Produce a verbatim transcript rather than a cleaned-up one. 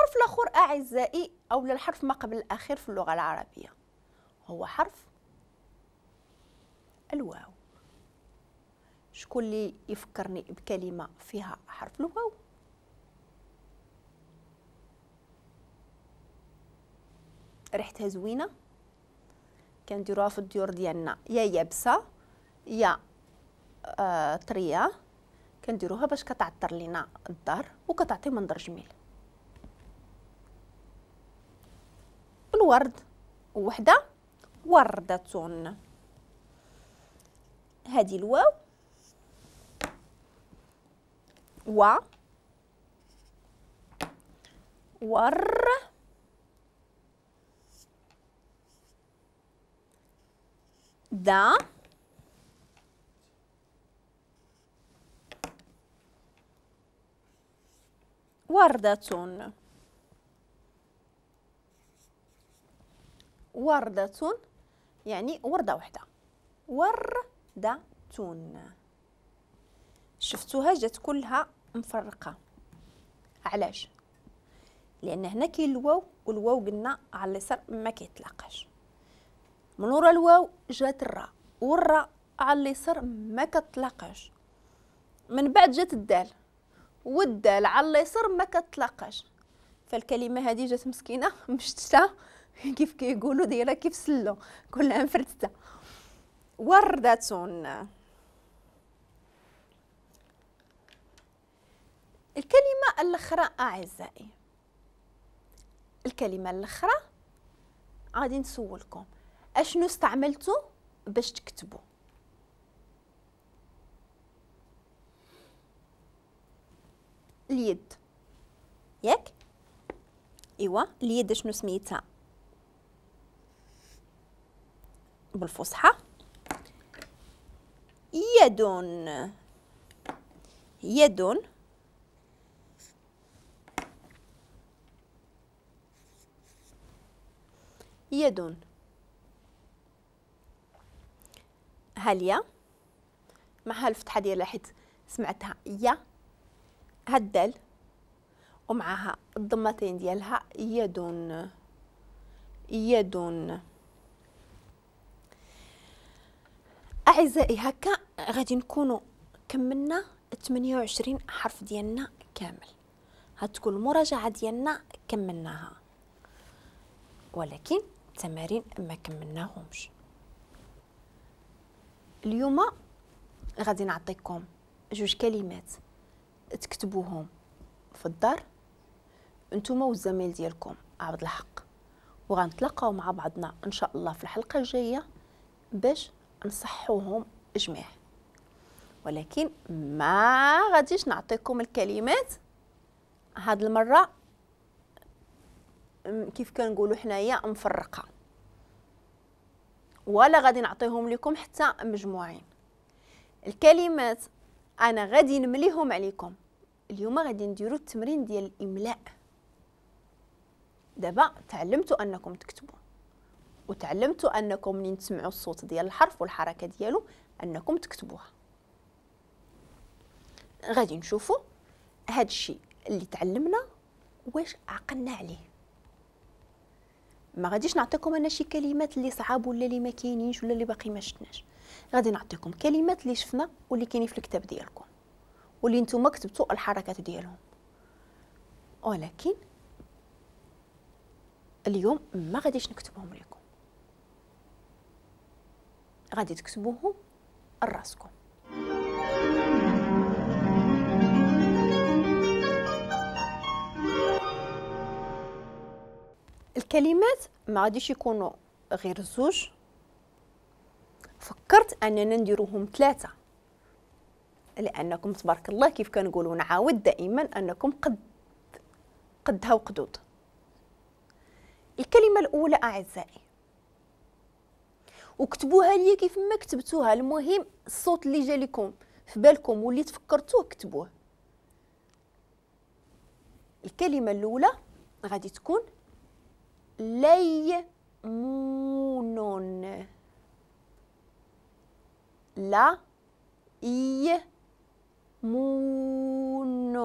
الحرف الاخر اعزائي او الحرف ما قبل الاخير في اللغة العربية هو حرف الواو. شكون اللي يفكرني بكلمه فيها حرف الواو؟ ريحتها زوينة، كنديروها في الديور ديالنا، يا يابسة يا آه طرية، كنديروها باش كتعطر لينا الدار وكتعطي منظر جميل. الورد وحده وردة، هذه الواو و ور دا وردة وردة يعني وردة واحدة، وردة. شفتوها جات كلها مفرقة، علاش؟ لأن هنا كاين الواو، والواو قلنا على اليسار ما كيتلاقاش. من ورا الواو جات الراء، والراء على اليسار ما كتلاقاش. من بعد جات الدال، والدال على اليسار ما كتلاقاش. فالكلمة هذه جات مسكينه مشتتة كيف كيقولوا، دايرة كيف سلو، كلها مفرتته. وردة. الكلمة الاخرى اعزائي، الكلمة الاخرى غادي نسولكم اشنو استعملتو باش تكتبوا؟ اليد، ياك؟ ايوا اليد شنو سميتها بالفصحى؟ يد. يد يد. هاليا مع الفتحة ديالها حيت سمعتها يا، هالدال ومعها الضمتين ديالها يد. يد. اعزائي هكا غادي نكونوا كملنا ثمانية وعشرين حرف ديالنا كامل. هتكون المراجعة ديالنا كملناها، ولكن التمارين ما كملناهمش. اليوم غادي نعطيكم جوج كلمات تكتبوهم في الدار نتوما والزميل ديالكم عبد الحق، وغنتلاقاو مع بعضنا ان شاء الله في الحلقة الجاية باش نصحوهم جميع. ولكن ما غاديش نعطيكم الكلمات هاد المرة كيف كنقولوا حنايا مفرقه، ولا غادي نعطيهم لكم حتى مجموعين. الكلمات انا غادي نمليهم عليكم. اليوم غادي نديروا التمرين ديال الاملاء. دابا تعلمتوا انكم تكتبوا، وتعلمتوا انكم منين تسمعوا الصوت ديال الحرف والحركة ديالو انكم تكتبوها. غادي نشوفوا هاد الشيء اللي تعلمنا واش عقلنا عليه. ما غاديش نعطيكم انا شي كلمات اللي صعاب ولا اللي ما كاينينش ولا اللي باقي ما شفناش. غادي نعطيكم كلمات اللي شفنا واللي كاينين في الكتاب ديالكم واللي نتوما كتبتوا الحركات ديالهم، ولكن اليوم ما غاديش نكتبهم لكم، غادي تكتبوهم لراسكم. الكلمات ما غاديش يكونوا غير زوج، فكرت اننا نديروهم ثلاثة، لانكم تبارك الله كيف كنقولوا نعاود دائما انكم قد قدها وقدود. الكلمة الاولى اعزائي وكتبوها لي كيف ما كتبتوها، المهم الصوت اللي جا لكم في بالكم واللي تفكرتوه كتبوه. الكلمة الاولى غادي تكون ليمون. لا ي مون.